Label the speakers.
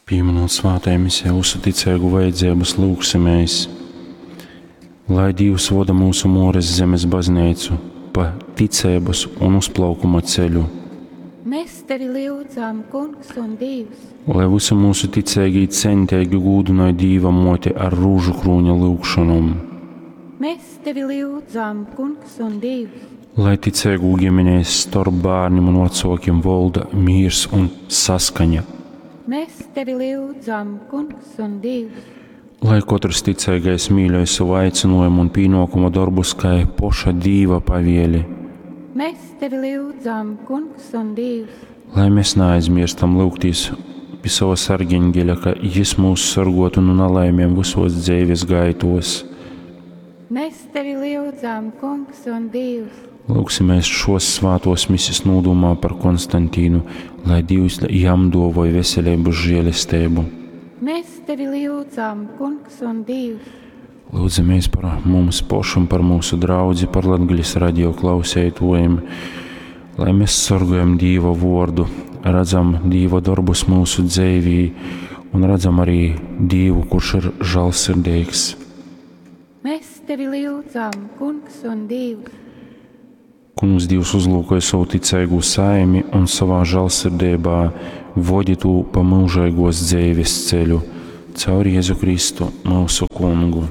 Speaker 1: Pīminūt svātajā misē vysu ticeigu vajadzeibys, lyugsimēs, lai Dīvs voda myusu Muores zemes bazneicu pa ticeibys un uzplaukuma ceļu.
Speaker 2: Mēs tevi lyudzam, Kungs un Dīvs!
Speaker 1: Lai vysi myusu ticeigī centeigi gūdynoj Dīva Muoti ar rūžukrūņa lyugšonom.
Speaker 2: Mēs tevi lyudzam, Kungs un Dīvs!
Speaker 1: Lai ticeigū gimenēs storp bārnim un vacuokim volda mīrs un saskaņa.
Speaker 2: Mēs tevi lyudzam, Kungs un Dīvs!
Speaker 1: Lai kotrs ticeigais mīļoj sovu aicynuojumu un pīnuokuma dorbus kai poša Dīva pavieli.
Speaker 2: Mēs tevi lyudzam, Kungs un Dīvs!
Speaker 1: Lai mēs naaizmierstam lyugtīs pi sova sargeņgeļa, ka jis mūs sorguotu nu nalaimēm vysuos dzeivis gaituos.
Speaker 2: Mēs tevi lyudzam, Kungs un Dīvs!
Speaker 1: Lyugsimēs šuos svātuos misis nūdūmā par Konstantīnu, lai Dīvs jam duovoj veseleibys žielesteibu.
Speaker 2: Mēs tevi lyudzam, Kungs un Dīvs!
Speaker 1: Lyudzamies par mums pošim, par mūsu draudzi, par Latgales radio klauseituojim, lai mēs sorgojam Dīva vuordu, redzam Dīva dorbus mūsu dzeivī un redzam arī Dīvu, kurš ir žālsirdīgs.
Speaker 2: Mēs tevi lyudzam, Kungs un Dīvs!
Speaker 1: Kungs Dīvs uzlūkoja sovu ticeigū saimi un sovā žālsirdeibā vodi tū pa myužeigōs dzeives ceļu caur Jezu Kristu, myusu Kungu.